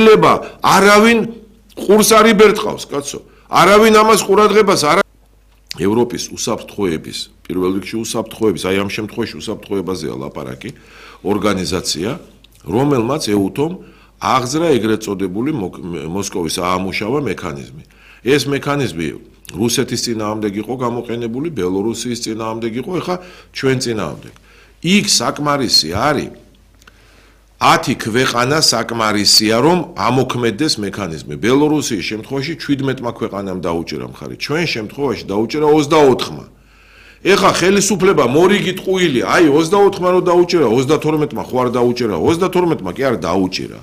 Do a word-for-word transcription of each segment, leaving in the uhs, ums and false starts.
შეიძლება არავინ ყურს არ იბერტყავს, კაცო. არავინ ამას ყურადღებას არ ევროპის უსაფრთხოების, პირველ რიგში უსაფრთხოების, აი ამ შემთხვევაში უსაფრთხოებაზეა ლაპარაკი, ორგანიზაცია, რომელმაც ეუთომ აღძრა ეგრეთ წოდებული მოსკოვის აამუშავა მექანიზმი. ეს მექანიზმი რუსეთის წინააღმდეგ იყო გამოყენებული, ბელორუსიის წინააღმდეგ იყო, ეხლა ჩვენ წინააღმდეგ. იქ საკმარისი არის ათი ქვეყანა საკმარისია, რომ ამოქმედდეს მექანიზმი. ბელორუსიის შემთხვევაში შვიდმეტმა ქვეყანამ დაუჭირა მხარი. ჩვენ შემთხვევაში დაუჭირა ოცდაოთხმა. ეხლა ხელისუფლება მორიგი ტყუილი, აი ოცდაოთხმა რო დაუჭირა, ოცდათორმეტმა ხო არ დაუჭირა, ოცდათორმეტმა კი არ დაუჭირა.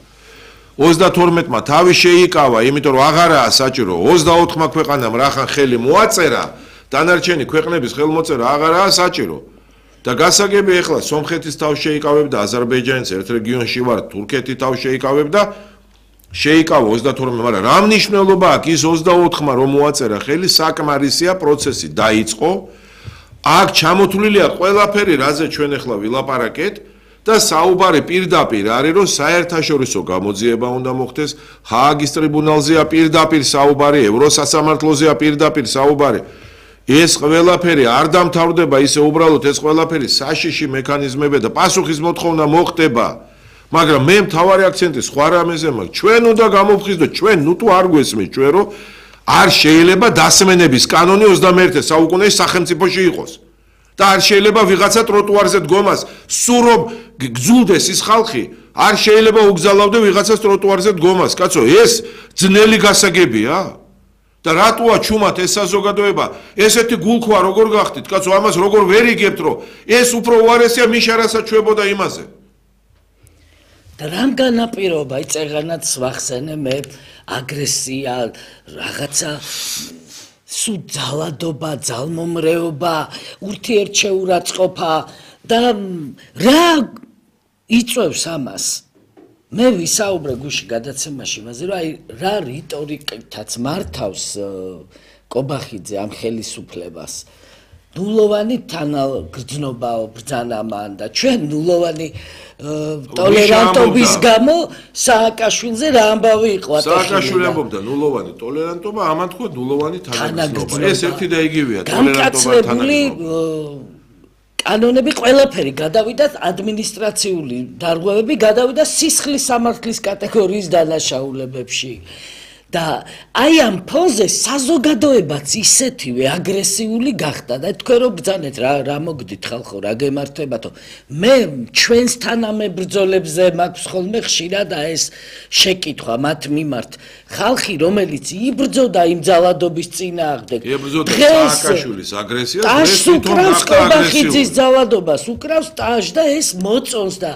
ოცდათორმეტმა თავი შეიკავა, იმიტომ რომ აღარაა საჭირო, ოცდაოთხმა ქვეყანამ რახან ხელი მოაწერა, დანარჩენი ქვეყნების ხელმოწერა აღარაა საჭირო. და გასაგები ეხლა სომხეთის თავს შეიკავებდა, აზერბაიჯანის ერთ რეგიონში ვარ, თურქეთი თავს შეიკავებდა, შეიკავა ოცდათორმეტ, მაგრამ რა მნიშვნელობა აქვს ის ოცდაოთხმა რომ მოაწერა ხელი, საკმარისია პროცესი დაიწყო. აქ ჩამოთვლილია ყველაფერი, რაზე ჩვენ ახლა ვილაპარაკეთ და საუბარი პირდაპირ არის, რომ საერთაშორისო გამოძიება უნდა მოხდეს, ჰააგის ტრიბუნალზეა პირდაპირ საუბარი, ევროსასამართლოზეა პირდაპირ საუბარი. ეს ყველაფერი არ დამთავრდება ისე უბრალოდ ეს ყველაფერი საშიში მექანიზმები და პასუხის მოთხოვნა მოხდება. მაგრამ მე მთავარი აქცენტი სხვა რამეზე მაქვს. ჩვენ უნდა გამოვხიზდოთ, ჩვენ ნუ თუ არ გვესმის ჩვენ რომ არ შეიძლება დასმენების კანონი ოცდამეერთე საუკუნეში სახელმწიფოში იყოს. და არ შეიძლება ვიღაცა ტროტუარზე დგომას, სულ რომ გძულდეს ის ხალხი, არ შეიძლება უგზალავდე ვიღაცას ტროტუარზე დგომას. კაცო, ეს ძნელი გასაგებია? და რატოა ჩუმად ეს საზოგადოება, ესეთი გულქვა როგორ გახდით, კაცო, ამას როგორ ვერ იგებთ, რომ ეს უფრო უარესია მიშარასაც ჩვებოდა იმაზე. და რამ განაპირობა, იწეღანაც ვახსენე მე აგრესია, რაღაცა სულ ძალადობა, ძალმომრეობა, ურთიერთშეურაცხყოფა და რა იწვევს ამას? მე ვისაუბრე გუში გადაცემაში იმაზე, რომ აი რა რიტორიკითაც მართავს კობახიძე ამ ხელისუფლებას. ნულოვანი თანაგრძნობაო ბრძანა მან და ჩვენ ნულოვანი ტოლერანტობის გამო სააკაშვილზე რა ამბავი იყო ატეხილი. სააკაშვილი ამბობდა ნულოვანი ტოლერანტობა, ამან თქვა ნულოვანი თანაგრძნობა. ეს ერთი და იგივეა, ტოლერანტობა და თანაგრძნობა. კანონები ყველაფერი გადავიდა, ადმინისტრაციული დარღვევები გადავიდა სისხლის სამართლის კატეგორიის დანაშაულებებში. და აი ამ ფონზე საზოგადოებაც ისეთივე აგრესიული გახდა და თქვენ რომ ბრძანეთ რა რა მოგდით ხალხო, რა გემართებათო. მე ჩვენს თანამებრძოლებზე მაქვს ხოლმე ხშირად ეს შეკითხვა მათ მიმართ. ხალხი რომელიც იბრძოდა იმ ძალადობის წინააღმდეგ, სააკაშვილის აგრესიას, ეს უკრავს კობახიძის ძალადობას, უკრავს ტაჟ და ეს მოწონს და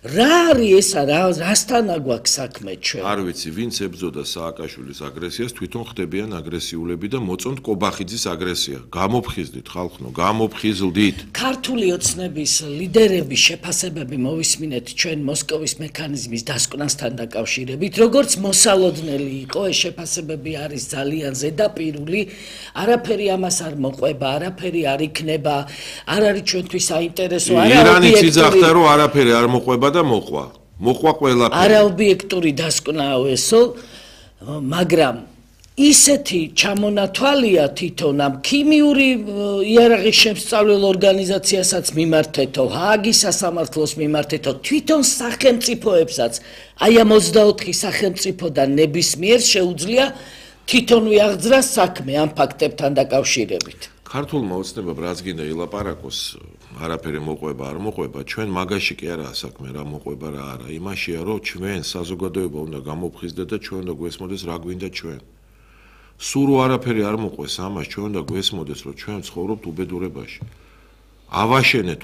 რა არის ესა, რასთან აგვაქვს საქმე ჩვენ? არ ვიცი, ვინც ებრძოდა სააკაშვილის აგრესიას, თვითონ ხდებიან აგრესიულები და მოწონთ კობახიძის აგრესია. გამოფხიზდით ხალხო, გამოფხიზლდით. ქართული ოცნების ლიდერების შეფასებები მოვისმინეთ ჩვენ მოსკოვის მექანიზმის დასკვნასთან დაკავშირებით, როგორც მოსალოდნელი იყო, ეს შეფასებები არის ძალიან ზედაპირული, არაფერი ამას არ მოყვება, არაფერი არ იქნება, არ არის ჩვენთვის საინტერესო, არა ირანი ციძახდა, რომ არაფერი არ მოყვება და მოყვა. მოყვა ყველაფერი. არაობიექტური დასკვნაა ესო, მაგრამ ისეთი ჩამონათვალია თვითონ ამ ქიმიური იარაღის შემსწავლელ ორგანიზაციასაც მიმართეთო, ჰააგის სასამართლოს მიმართეთო, თვითონ სახელმწიფოებსაც, აი ამ ოცდაოთხი სახელმწიფოდან ნებისმიერ შეუძლია თვითონ ვიაღძრა საქმე ამ ფაქტებთან დაკავშირებით. ქართულმა ოცნებამ რაც გინდა ილაპარაკოს, არაფერი მოყვება არ მოყვება, ჩვენ მაგაში კი არაა საქმე, რა მოყვება რა არა. იმაშია, რომ ჩვენ საზოგადოება უნდა გამოფხიზდეთ და ჩვენ უნდა გვესმოდეს რა გვინდა ჩვენ. სულ რო არაფერი არ მოყვეს ამას, ჩვენ უნდა გვესმოდეს, რომ ჩვენ ვცხოვრობთ უბედურებაში. ავაშენეთ